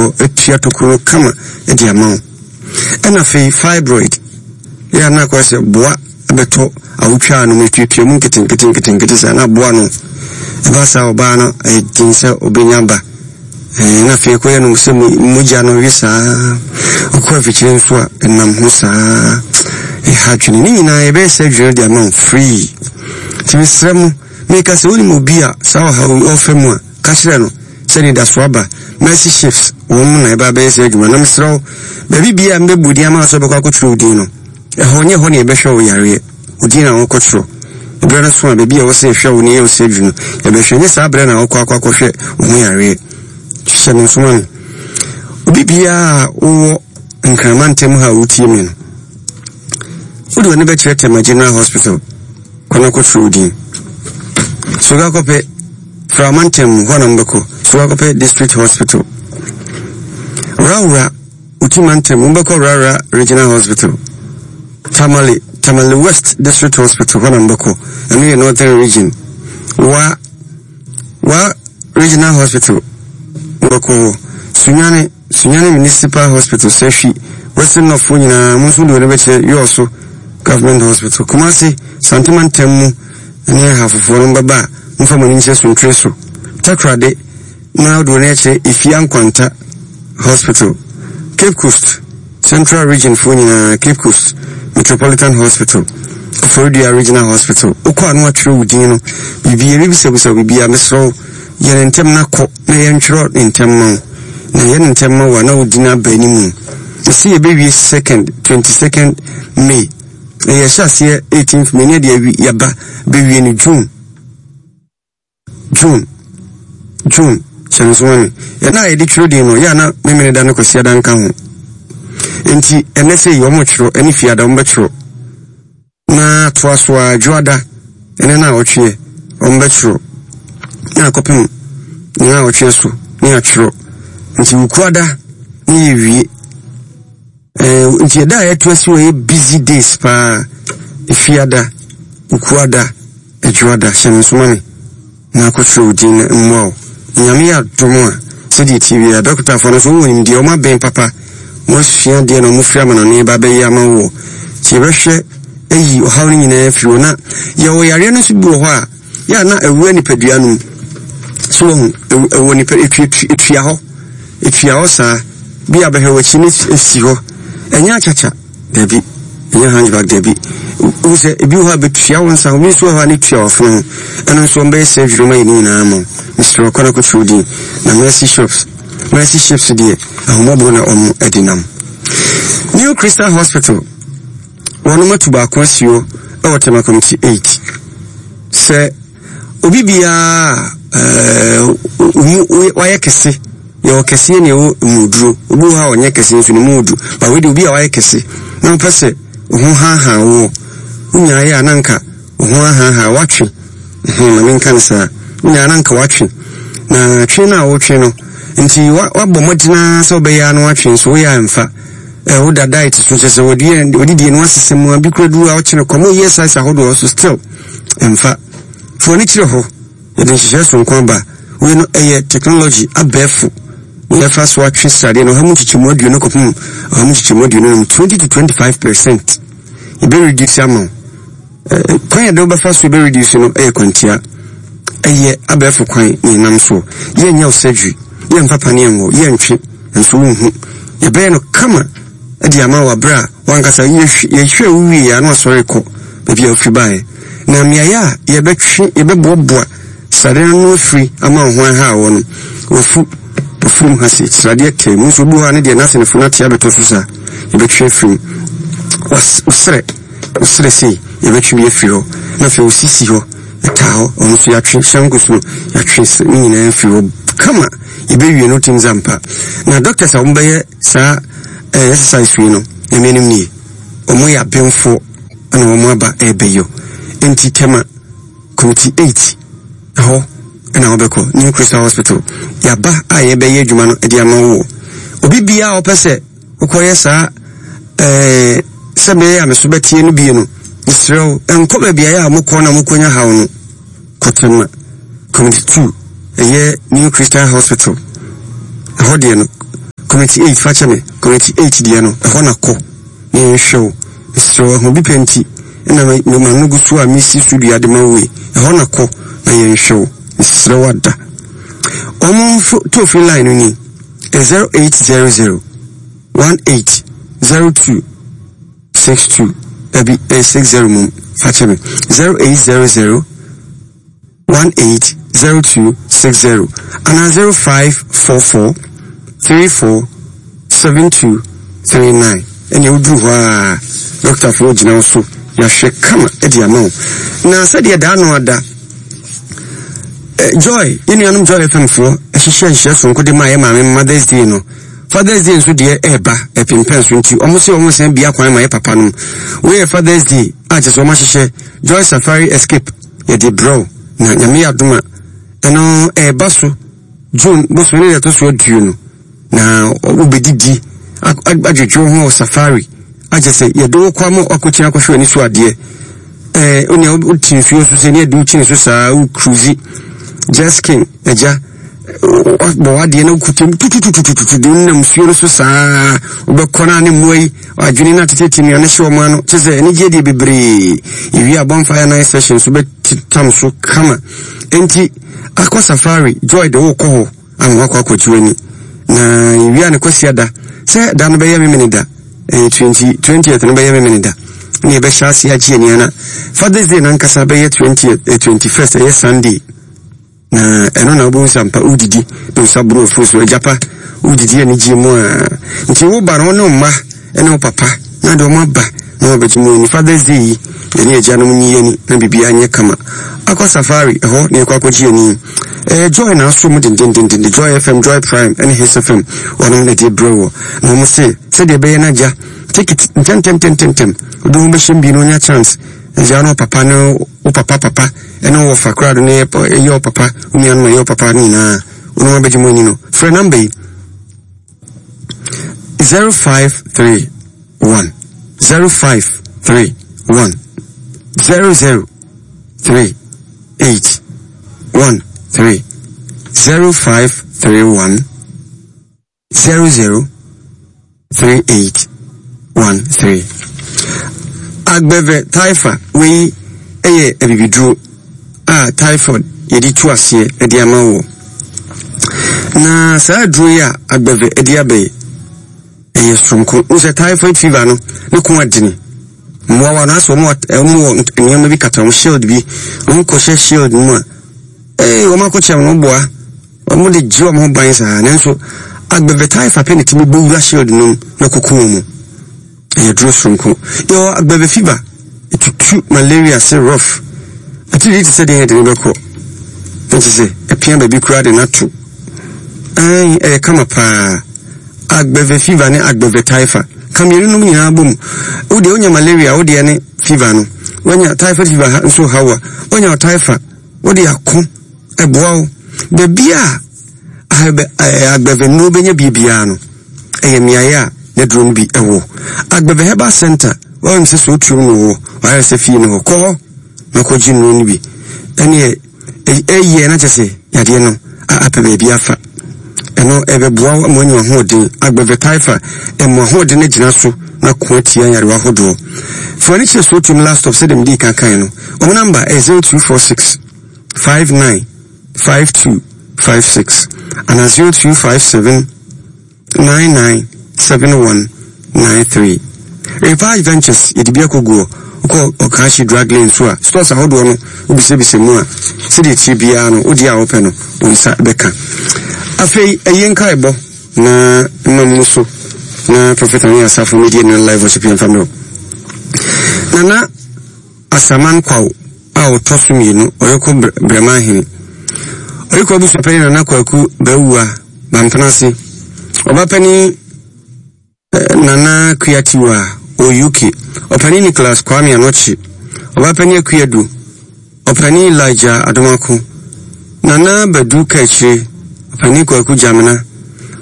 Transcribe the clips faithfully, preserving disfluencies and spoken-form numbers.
hɔ atua tokuro no kama de ama wo. Ɛna afei fibroid yɛ a na akɔyɛ sɛ boa bɛtɔ awotwaa no mu, etuatua mu nketenkete nketenkete saa na aboa no. Ɛba saa ɔbaa no ɛyɛ den sɛ ɔbɛnya ba. Ɛɛ na afei ɛkɔyɛ no sɛ mogya no we saa, ɔkɔ afikyire nso a ɛnam ho saa, ɛha adwene. Ne nyinaa yɛbɛyɛ surgery no de ama wo free. Nti mesrɛ mo, meka sɛ wonim obi a saa ɔhaw yi ɔfa mu a, ka kyerɛ no sɛ anidaso aba. Mercy Ships wɔn na ɛba bɛyɛ saa adwuma. Na mesrɛ wo, baabi biara a mebɛbɔ din ama wo sɛ wobɛkɔ akɔtwerɛ wo din no, ɛhɔ nyɛ hɔ na yɛbɛhwɛ wo yareɛ. Wo din na wɔkɔtwerɛ. Ɛberɛ no so a, baabi a ɛwɔ sɛ yɛhwɛ wo na yɛyɛ wo surgery no, yɛbɛhwɛ. Nyɛ saa berɛ na wokɔ akɔ akɔhwɛ wo ho yareɛ. Hyɛ no nso ma me. Obi biara a wowɔ Nkrama ntam ha a wotie me no, wode w'ani bɛkyerɛ Tema General Hospital, kɔ na kɔtwerɛ wo din. Sogakɔpɛ, Frama ntam mu, hɔ na mobɛkɔ. Sogakɔpɛ District Hospital. Rawra, Utima ntam, mobɛkɔ Rawra Regional Hospital. Tamale, Tamale West District Hospital, hɔ na mobɛkɔ. Ɛno yɛ Northern Region. Wa, Wa Regional Hospital, mobɛkɔ hɔ. Sunyani, Sunyani Municipal Hospital, Sahwi, Western North foɔ nyinaa, mo nso mode w'ani bɛkyerɛ Yɔɔso Government Hospital. Kumasi, Santema ntam mu ne Ahafofoɔ no mobɛba a, momfa mo ani nkyerɛ Suntire so. Takoradi, na wode w'ani akyerɛ Efia Nkwanta Hospital. Cape Coast, Central Region foɔ nyinaa, Cape Coast Metropolitan Hospital, Koforidua Regional Hospital. Wokɔ a na wɔatwerɛ wo din no, biribi, yɛbɛbisabisa wo biribiara, mesrɛ wo, yɛ no ntɛm na kɔ na yɛntwerɛ ne ntɛm ma wo. Na yɛ no ntɛm ma wo a na wo din aba anim. Mese yɛbɛwie second, twenty second May. Na yɛhyɛ aseɛ eighteenth May ne yɛde yɛba bɛwie no June. June, June, hyɛ no nso ma me. Ɛna a yɛde twerɛ din no, yɛ a na Memeneda ne Kwasiada nka ho. Nti ɛnɛ sɛ yi wɔn twerɛ, ɛne Fiada wɔn bɛtwerɛ. Na toa so a Dwoada, ɛnɛ na awɔtweɛ, wɔn bɛtwerɛ. Na akɔpem ne awɔtweɛ so, ne atwerɛ. Nti Wukuada ne yɛwie. Eh, nti ɛda a yɛto asi hɔ yɛ busy days paa. Efiada, Wukuada, Adwoada, hyɛ no nso ma me na akɔtwerɛ wo din na mmoa wo. Nyame yɛ adom a, sɛdeɛ ɛteɛ biara, dɔkotafoɔ no nso wɔwɔ nimdeɛ, wɔn abɛn papa, wɔn asua adeɛ na wɔn firi amanɔne ba bɛyɛ ama woɔ. Nti yɛbɛhwɛ ayi ɔhaw no nyinaa afiri hɔ. Na yɛwɔ yareɛ no nso bi wɔ hɔ a, yɛ a na awura nipadua no mu. So wahu, ɛwɔ nipa, etua hɔ. Etua hɔ saa, bi a bɛhwɛ w'akyi no esi hɔ. Ɛnyɛ akyakya, dabi. Ɛnyɛ hunchback, dabi. Wohu sɛ ebi wɔ hɔ a betua wo nsa ho, bi nso wɔ hɔ a ne tua w'afono ho. Ɛno nso wɔbɛyɛ surgery ma yɛ ne nyinaa ama wo. Mesrɛ wo, kɔ na kɔtwerɛ wo din. Na Mercy Shops, Mercy Ships deɛ, ahummɔborɔ na wɔn de nam. New Crystal Hospital, wɔnom atu baako asi hɔ wɔ Tema Committee eight. Sɛ Obi biara a ɛɛ wayɛ kɛse, yɛwɔ kɛseɛ na ɛwɔ mu duro. Obi wɔ hɔ a ɔnyɛ kɛse nso ne mu odu. Ba wei deɛ obi a wayɛ kɛse na wopɛ sɛ wo ho haahaa woɔ, wonyaa yɛ a na nka wo ho ahaahaa watwe. Hmm, ma menka no saa. Wonyaa na nka watwe. Na twe no a wotwe no, nti wabɔ mmɔden ara sɛ wobɛyɛ a na watwe nso woyɛ a mfa. Eh, woda diet so kyerɛ sɛ wɔdidie no wasesa mu a bi kura duru a wokyene kɔm woyɛ size ahodoɔ so still mfa. Fa w'ani kyerɛ hɔ. Yɛde nhyehyɛe soronko aba. Wei no, ɛyɛ technology, abɛɛfo, na yɛfa so atwe sradeɛ no ɔha mu nkyekyɛmu aduonu kɔpem ɔha mu nkyekyɛmu aduonu num, twenty to twenty five percent. Yɛbɛ reduce ama wo. Eh, kwan yɛde wobɛfa so yɛbɛ reduce no ɛyɛ kwantia. Ɛyɛ abɛɛfo kwan na yɛnam soɔ. Yɛnyɛ wo surgery, yɛmfa paneɛ nwɔ, yɛntwe, nso wonhu. Yɛbɛyɛ no kama de ama wo berɛ a wankasa yɛhwɛ wo wie a na wasɔre kɔ baabi a wofiri baeɛ. Na mmeaeɛ a yɛbɛtwe, yɛbɛboaboa sradeɛ no ano afiri ama wo ho aha wɔ no, wafu, wafurum ha se, sradeɛ tɛɛ mu. Nso obi wɔ hɔ a ne deɛ n'ase ne fo no ate abɛtɔ so saa, yɛbɛtwe afiri mu. Wo serɛ, wo serɛ sei, yɛbɛtwe bi afiri hɔ. Na afei wo sisi hɔ, ɛtaa hɔ, ɔno nso yɛatwe, hyɛnko so no, yɛatwe ne nyinaa afiri hɔ kama. Yɛbɛwie no tim zampa. Na doctors a wɔbɛyɛ saa eh, exercise wei no, Nyame anim nie, wɔn yɛ abenfoɔ ɛna wɔn aba ɛrebɛyɔ. Nti Tema Committee eight ɛhɔ ɛna wɔbɛkɔ New Crystal Hospital. Yaba a yɛbɛyɛ adwuma no ɛde ama wo. Obi biara a ɔpɛ sɛ wokɔyɛ saa ɛɛ sɛ bɛyɛ a meso bɛteɛ no bie no, mesrɛ wo, ɛnkɔ baabi a yɛ a mokɔ na mokɔnya haw no. Kɔ Tema Committee two, ɛyɛ New Crystal Hospital. Ɛhɔ deɛ no, Community eight, fakyɛ me, Community eight deɛ no, ɛhɔ na kɔ na yɛnhwɛ wo. Mesrɛ wo, ɛho bi pɛ nti ɛna me ma no gu so a mesi so dua de ma wo yi. Ɛhɔ na kɔ na yɛnhwɛ wo. Mesrɛ wo ada. Ɔmo toll free line no ni zero eight zero zero one eight zero two six two, dabi, ɛyɛ six zero mum, fakyɛ me, zero eight zero zero one eight zero two six zero ana zero five four four three four seven two three nine. Ɛnna woduru hɔ a, dɔktafoɔ gyina wo so, yɛahwɛ kama de ama wo. Na sɛdeɛ daa no ada, Joy, yɛn nuanom Joy F M foɔ hyehyɛ nhyɛ sonko de ma yɛ maame Mother's Day no. Father's Day nso deɛ ɛreba ɛpempɛn so, nti wɔn sɛ wɔn sɛn bia kwan ma yɛ papa nom. Wei yɛ Father's Day a kyerɛ sɛ wɔn ahyehyɛ Joy Safari Escape yɛde brɛw, na Nyame yɛ adom a ɛno ɛreba so June bosome ne deɛ ɛtɔ so aduonu, na wobɛdidi adwedwe ho wɔ safari akyɛ sɛ yɛde wo kɔ ama wakɔkyina akɔhwɛ w'ani so adeɛ. Ɛɛ onua wote nsuo so sɛ ne yɛde wo kyini so saa, wo cruise jet ski agya bɔ wadeɛ na wokuta mu tutututututu de wonam nsuo no so saa, wobɛkɔ no a ne mmoa yi adwene no atetete nnuane hyɛ wɔn ano, kyɛ sɛ anigyeɛ deɛ bebree. Yɛwie a bonfire night session so bɛtetam so kama. Enti akɔ safari, Joy de wokɔ hɔ ama wakɔ akɔgye w'ani. Na yɛwie a ne kwasi ada sɛ da no bɛyɛ memene da, ɛyɛ twenty twentieth no bɛyɛ memene da, na yɛbɛhyɛ ase agye ani ana Father's Day nankasa bɛyɛ twentieth, twenty first, ɛyɛ Sunday. Na ɛno na wobɛhu sɛ ampa wodidi na nsa boro afuo so agyapa wodidi anigye mu a, nti woba no wo ne wo mma ne wo papa na de wɔn aba na wɔbɛgye mu ani. Father's Day yi yɛne agyanom nyi ani na biribiara nyɛ kama. Akɔ safari ɛhɔ na yɛkɔ akɔgye ani. Ɛyɛ Joy na aso mu dendendenden, Joy F M, Joy Prime ɛne Hits F M wɔnom na ɛde brɛ wɔ. Na wɔn se sɛdeɛ ɛbɛyɛ no agya take it ntɛmntɛmntɛmntɛm, wode ho bɛhyɛ mu bi na onya chance. Agya no papa ne wo papa papa ɛne wo wɔfa koraa do ne ɛyɛ wo papa, wo nuanom ɛyɛ wo papa no nyinaa wɔnom abɛgye mu ani no. Frɛ namba yi zero five three one zero five three one zero zero three eight one three, zero five three one zero zero three eight one three. Agbeve Taifa wei ɛyɛ abibiduro a typhoid yɛde tu aseɛ ɛde ama wɔ. Na saa aduro yi a Agbeve ɛde aba yi ɛyɛ soronko. Wo sɛ typhoid fever no ne ko adene. Mmoawa no asɛ wɔn wɔ nneɛma bi kata wɔn shield bi, wɔn kɔhyɛ shield mu a, ee wɔn akɔkyɛ wɔn boa, wɔn de gye wɔn ho ban saa. Nanso Agbeve Taifa pɛ ne tumi bɔ wura shield no mu na koko wɔn mu. Ɛyɛ duro soronko. Yɛwɔ Agbeve fever, etutu malaria se rough. Atiri te sɛ deɛ yɛde ne bɛkɔ. Nti sɛ ɛpia baabi koraa de n'ato. Ɛn ɛyɛ kama paa. Agbeve fever ne Agbeve Taifa. Ka mmienu nom nyinaa bom. Wo deɛ wonya malaria, wo deɛ ne fever no. Wonya typhoid fever nso hawa. Wonya Taifa, wo de ako ɛboa wo. Baabi a Agbeve no bɛnya biribiara no, ɛyɛ mmeaeɛ a ne duro no bi ɛwɔ. Agbeve Herbal Center, wɔn sɛ so otuom no wɔ, wɔayɛ sɛ fie no hɔ. Kɔ hɔ na kɔgye nnuro no bi. Ɛneɛ ɛyɛ na kyɛ sɛ yadeɛ no apɛ baabi afa. Ɛno ɛbɛboa wo ama woanya ahoɔden. Agbeve Taifa ɛmo ahoɔden no gyina so na ko atia nyarewa ahodoɔ. Fa w'ani kyerɛ so otuom last stop sɛdeɛ mede kan kan no. Wɔn namba ɛyɛ zero two four six five nine five two five six ana zero two five seven nine nine seven one nine three. Revive Ventures yɛde bi akɔguɔ. Wokɔ Ɔkaahye Drug Lane so a, stores ahodoɔ no wobisabisa mu a, sɛdeɛ tie biara no wode a wopɛ no wo nsa bɛka. Afei ɛyɛ nkaebɔ na mma mu so na Prophet Ane Asafo media no live worship yɛmfa mmerɛ. Nana Asaman Kwaw a ɔtɔ so mmienu ɔyɛkɔ Brɛma ahene. Ɔyɛkɔ abusuapanin Nana Kwaku Bawua Bampenase. Ɔbapani Nana Kuyatiwa wɔ U K. Ɔpanin Nicholas Kwame Anokye. Ɔbapani Akuyadu. Ɔpanin Elijah Adomako. Nana Badu Kakyire. Ɔpanin Kwaku Jamina.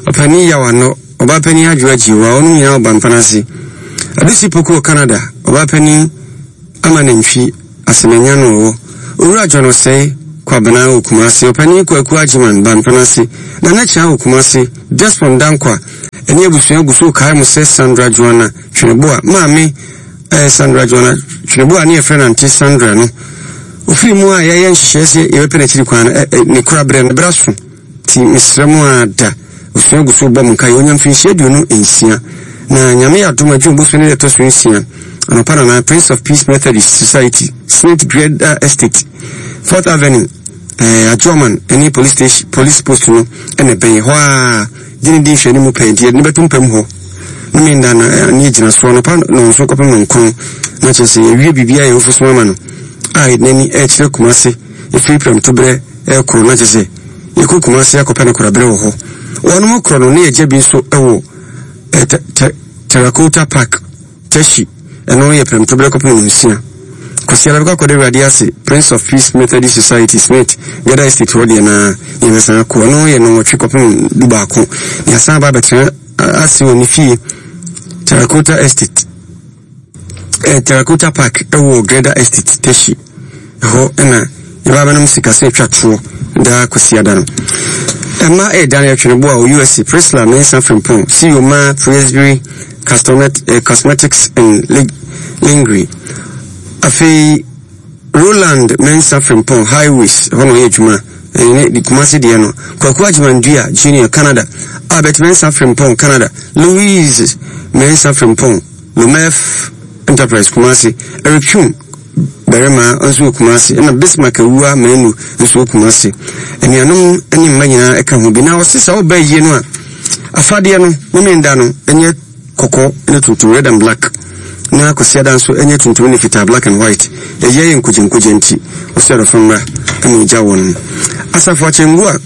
Ɔpanin Yawano. Ɔbapani Adwo Agyiwa. Ɔno nyinaa wɔ Bampenase. Adusi Poku wɔ Canada. Ɔbapani Amanantwi Asemanya no wɔ. Owura John Osei Kwabena wɔ Kumasi. Ɔpanin Kwaku Agyeman Bampenase. Nana Kyia wɔ Kumasi. Desmond Dankwa Ɛne abusua gu so kae mo sɛ Sandra Joanna Tweneboa maame ɛɛ Sandra Joanna Tweneboa ne yɛfrɛ no Auntie Sandra no. Ofiri mu a yɛayɛ nhyehyɛe sɛ yɛbɛpɛ n'akyiri kwan no, ɛ, ne kora berɛ no, berɛ aso. Nti mesrɛ mo a da, abusua gu so bɔ mo nkaeɛ. Ɔnya mfirinhyia aduonu nsia. Na Nyame yɛ adom a, June bosome no da ɛtɔ so nsia, anɔpa nana, Prince of Peace Methodist Society, Senate Greda Estate, Fourth Avenue, eh, Adjoaman ne police station, police post no na ɛbɛn hɔ a, gye ne di nhwɛani mu pɛɛ, nti yɛde no bɛto mpam hɔ. Ne me nda na eh, ne gyina so anɔpa nɔnso kɔpem nɔnkron, na kyerɛ sɛ yɛwie biribiara yɛwofo so ama no a yɛde n'ani ɛrekyerɛ Kumase ɛfiri prɛmtoberɛ ɛrekoro, na kyerɛ sɛ yɛkɔ Kumase akɔpɛ no koraberɛ wɔ hɔ. Wɔnom korɔ no ne yɛgya bi nso ɛwɔ eh, Terracotta Park, Teshie, ɛno yɛ prɛmtoberɛ kɔpem nɔnsia. Kwasiada bɛkɔ akɔda Awurade ase, Prince of Peace Methodist Society, Smith, Gada Estate hɔ deɛ na yɛbɛsan akɔ. Ɛno yɛ nnɔnwɔtwe kɔpem du baako. Na yɛasan aba abɛtena ase wɔ ne fie, Terracotta Estate, eh, Terracotta Park ɛwɔ Greda Estate, Teshie. Ɛhɔ ɛna yɛba abɛnom sikasɛm atwa toɔ daa Kwasiada no. Ɛma ɛyɛ Daniel Tweneboa wɔ U S A, Priscilla Mensah Frimpong, C E O ma Presbyterian eh, Cosmetics and Lingerie. Afei Roland Mensah Frimpong, Highways, hɔ na ɔyɛ adwuma. Ɛne de Kumasi deɛ no. Kwaku Agyeman-Dua Junior, Canada. Albert Mensah Frimpong, Canada. Louise Mensah Frimpong, Lomef Enterprise, Kumasi. Eric Twum, Barima, nso wɔ Kumasi. Ɛna Bismarck Awua Manu nso wɔ Kumasi. Anuanom ne mma nyinaa ɛka ho bi. Na ɔse sɛ ɔba yie no a, afadeɛ no, ne menda no, ɛnyɛ kɔkɔɔ ne tuntum, red and black. Na Kwasiada nso ɛnyɛ tuntum ne fitaa, black and white. Ɛyɛ yɛ nkogyenkogye nti, ɔsɛ adɔfo mmra ɛna ogya wɔn. Asafo Akyɛngu a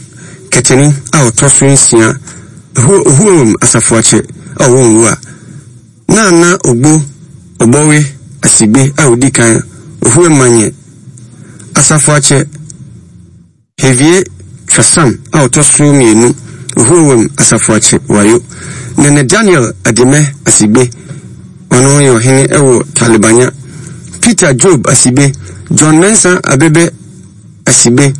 Kɛtɛni a ɔtɔ so nsia, Ohuom Asafo Akyɛ a ɔwɔ Nwua. Nana Ogbo Ɔbɔwe Asigbe a odi kan, Ohuemanye. Asafo Akyɛ Hevie Twasam a ɔtɔ so mmienu, Ohuewem Asafo Akyɛ Wayo. Nene Daniel Adime Asigbe, ɔno yɛ ɔhene ɛwɔ Talibanya. Peter Job Asigbe, John Mensah Abebe Asigbe,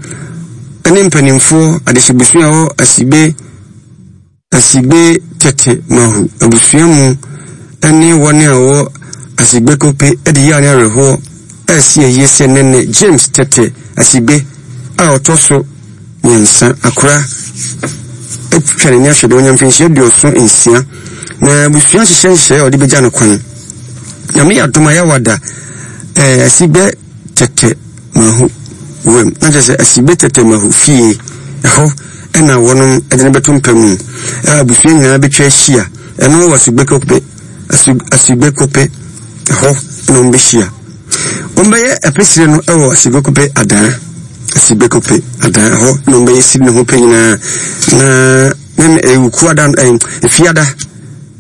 ɛne mpanimfoɔ adehyebusua wɔ Asigbe, Asigbe Tete Mahu abusua mu, ɛne wɔn a wɔwɔ Asigbe Kope ɛde yɛ ne awerɛhoɔ ɛsi ayie sɛ Nene James Tete Asigbe a ɔtɔ so mmiɛnsa akora atwa n'ani ahwɛ deɛ ɔnya mfinhyia aduɔson nsia na abusua hyehyɛ nhyehyɛeɛ a ɔde bɛgya no kwan. Nyame yɛ adom a yɛawada ɛɛ Asigbe Tete Mahu wɛm na kyerɛ sɛ Asigbe Tete Mahu fie ɛhɔ ɛna wɔnom ɛde no bɛto mpa mu a abusua nyinaa bɛtwa ahyia. Ɛno wɔ Asigbe Kope, Asigbe Kope ɛhɔ ɛna wɔn bɛhyia. Wɔn bɛyɛ ɛpɛsire no ɛwɔ Asigbe Kope adan, Asigbe Kope adan ɛhɔ na wɔn bɛyɛ siri ne ho pɛ nyinaa. Na ne ewuku adan ɛɛ efiada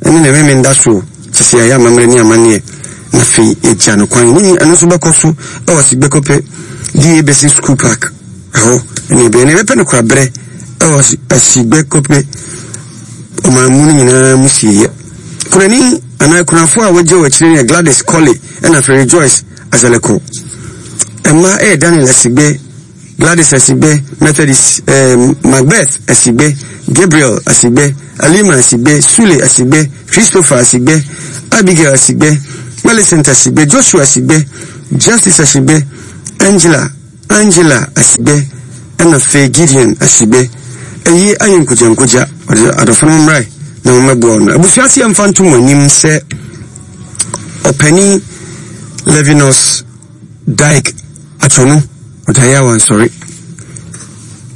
ɛne ne mɛmɛ nda so sisi ayɛ amammerɛ ne amanneɛ na afei egya no kwan. Ne ɛno nso bɛkɔ so ɛwɔ Asigbe Kope D A Basic School Park ɛhɔ ɛna ɛbɛyɛ. Na ɛbɛpɛ no kora berɛ ɛwɔ Asigbe Kope ɔman mu no nyinaa mu sieyɛ. Kunani anaa kunafo a wɔagye wɔ akyire no yɛ Gladys Colley ɛna afei Rejoice Azeleko. Mmaa ɛyɛ Daniel Asigbe, Gladys Asigbe, Methodist, eh, Macbeth Asigbe, Gabriel Asigbe, Alima Asigbe, Sule Asigbe, Christopher Asigbe, Abigail Asigbe, Millicent Asigbe, Joshua Asigbe, Justice Asigbe, Angela, Angela Asigbe, ɛna afei Gideon Asigbe. Ɛyi ayɛ nkogyankogya, ɔde adɔfo no mmrae na wɔmmɛboa no. Abusua ase yɛmfa nto mo anim sɛ ɔpanin Levinus Dike Atwonu ɔdaeɛ a wansɔre.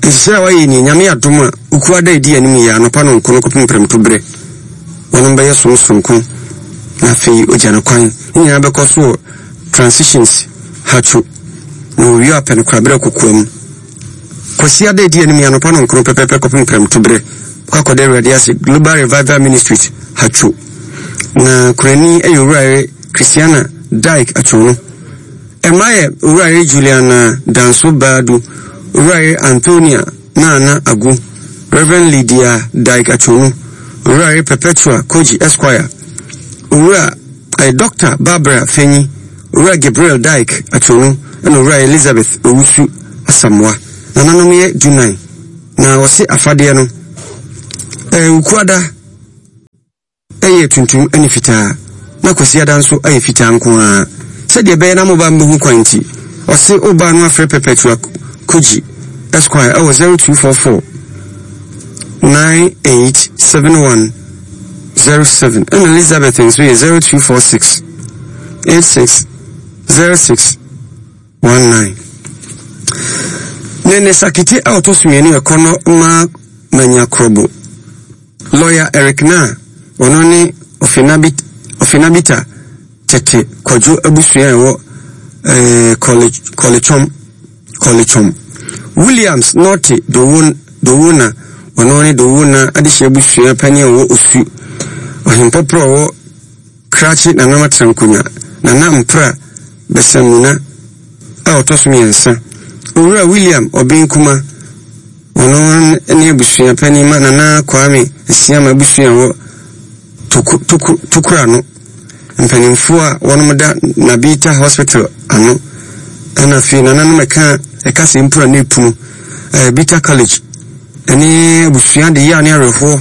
Nhyehyɛe a wayɛ ni, Nyame adom a Ukua da edi anim yɛ anɔpa no nko no kɔpem prɛmto berɛ. Wɔnom bɛyɛ som soronko na afei ogya no kwan. Ne nyinaa bɛkɔ so wɔ Transitions Hatcho na wɔwie apɛ no koraberɛ kokoa mu. Kwasi ada edi anim yɛ anɔpa no nkono pɛpɛpɛ kɔpem prɛmto berɛ. Kɔ akɔda Awurade ase Global Revival Ministries Hatcho. Na kurani ɛyɛ Owurayere Christiana Dike Atwonu. Ɛma yɛ Owurayere Juliana Danso Baadu, Owurayere Antonia Nana Agu, Reverend Lydia Dike Atwonu, Owurayere Perpetua Koji Esquire, Owura eh, Doctor Barbara Fenyi, Owura Gabriel Dike Atwonu, ɛna Owura Elizabeth Owusu Asamoah. Nananom yɛ dunan. Na ɔse afadeɛ no, eh, Ukuada Ɛyɛ tuntum ne fitaa, na Kwasiada nso ayɛ fitaa nko ara. Sɛdeɛ ɛbɛyɛ na mo ba mbɛhu kwan nti, ɔse wo ba no afrɛ Perpetua Koji Esquire ɛwɔ zero two four four nine eight seven one zero seven ɛna Elizabeth nso yɛ zero two four six eight six zero six one nine. Nene Sakite a ɔtɔ so mmienu ɛkɔ no ma Manya Krobo. Lawyer Eric Naa, ɔno ne Ɔfenabita Tete Kwadwo abusua a ɛwɔ eh, Kɔlechɔm. Kɔlechɔm. Williams Norte Dowona, ɔno ne Dowona adehye abusua panin a ɔwɔ Osu. Ɔhempɔporɔ a ɔwɔ Krakye Nana Matrankonya, Nana Mpra Bɛsamuna a ɔtɔ so mmiɛnsa. Owura William Ɔben Kuma, ɔno ne abusua panin ma Nana Kwame Asiama abusua a ɛwɔ Toku, Toku, Tokura no. Mpanimfoɔ a wɔnom da Nabita Hospital ano. Ɛna afei nananom ɛka ɛka sɛ mpura ne epunu ɛɛ Bita College ɛne abusua de yea ne awerɛhoɔ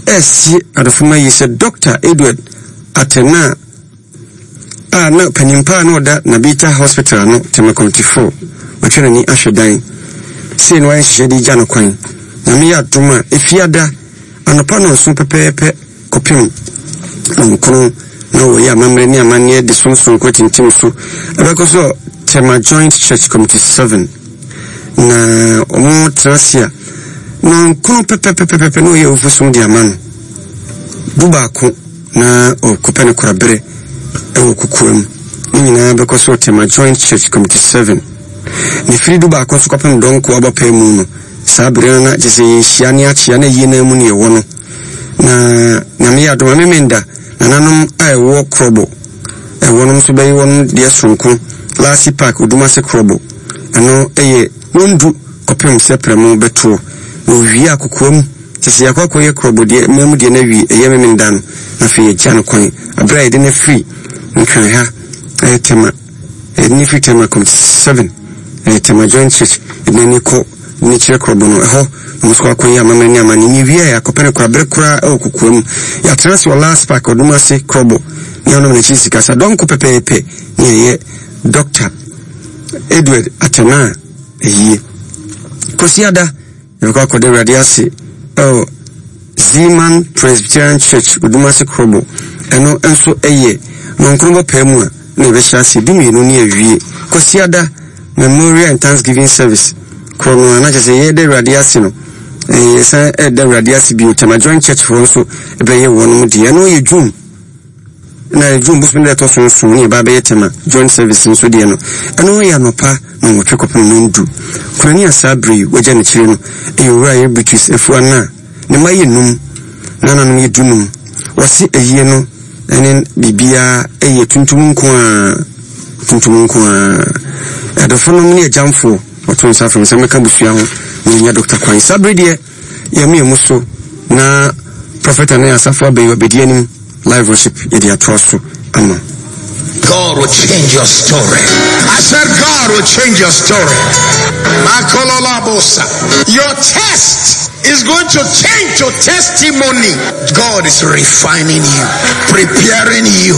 ɛresie adɔfoma yi sɛ Doctor Edward Atena a na panin paa na ɔda Nabita Hospital ano Tema Committee four watwa n'ani ahwɛ dan sei na wayɛ nhyehyɛ de gya no kwan. Nyame yɛ adom a efiada anɔpa nɔnson pɛpɛɛpɛ kɔpem nɔnkron na wɔyɛ amammerɛ ne amanneɛ de som soronko atintim so ɛbɛkɔ so Tema Joint Church Committee seven na wɔn tena ase a nɔnkron pɛpɛpɛpɛpɛ na wɔyɛ awufo som de ama no du baako na ɔkɔpɛ no koraberɛ ɛwɔ kokoam. Ne nyinaa bɛkɔ so Tema Joint Church Committee seven. Ne firi du baako nso kɔpem dɔnko abɔpɛ mu no saa bere no na kyerɛ sɛ yɛhyia ne akyea na yie no mu ne yɛwɔ no. Na Nyame yɛ adom a memenda nananom a ɛwɔ Krobo ɛwɔ nom nso bɛyɛ wɔn deɛ soronko Lasi Park Odumase Krobo ɛno ɛyɛ nondu kɔpem sɛ prɛmo bɛtoɔ na owie akokoam kyɛ sɛ yɛakɔ akɔyɛ Krobo deɛ mmamu deɛ no awie ɛyɛ memenda no na afei yɛgya no kwan aberɛ a yɛde no afiri Nkran ha ɛyɛ Tema yɛde no firi Tema Committee seven ɛyɛ Tema Joint Church yɛde n'ani kɔ ne kyerɛ Krobo no ɛhɔ na nso akɔyɛ amammerɛ ne amanneɛ ne wie a yɛakɔpɛ no koraberɛ koraa ɛwɔ kokoa mu yɛatena ase wɔ Last Park ɔdom ase Krobo ne ɔnom n'akyi sika sa dɔnko pɛpɛɛpɛ ne ɛyɛ Doctor Edward Atena ayie. Kwasiada yɛbɛkɔ akɔda Awurade ase ɛwɔ Zeman Presbyterian Church Odumase Krobo ɛno nso ɛyɛ nɔnkron bɔpɛɛ mu a na yɛbɛhyɛ ase du mmienu ne awie. Kwasiada Memorial and Thanksgiving Service korɔ no a na kyerɛ sɛ yɛda Awurade ase no yɛsan ɛda Awurade ase bio Tema Joint Church foɔ nso ɛbɛyɛ wɔn deɛ ɛno yɛ June na June bosom deɛ ɛtɔ so nson ne yɛba bɛyɛ Tema Joint Service nso deɛ no ɛno yɛ anɔpa na wɔtwe kɔpem no ndu kurani a saa bere yi wagya n'akyire no ɛyɛ owura yɛ Beatrice Afua na ne mma yɛ num na nanom yɛ dunum wɔse ayie no ɛne biribiara ɛyɛ tuntum nko a tuntum nko a adɔfo nom ne agyamfoɔ wɔto nsa frɛ sɛ mɛka busua ho na yɛnya Doctor Kwan saa bere deɛ yɛme mu so na Prophet ne asafo abɛyi abɛdi anim live worship yɛde atoa so ama. God will change your story. I said God will change your story. Your test is going to change to testimony. God is refining you, preparing you.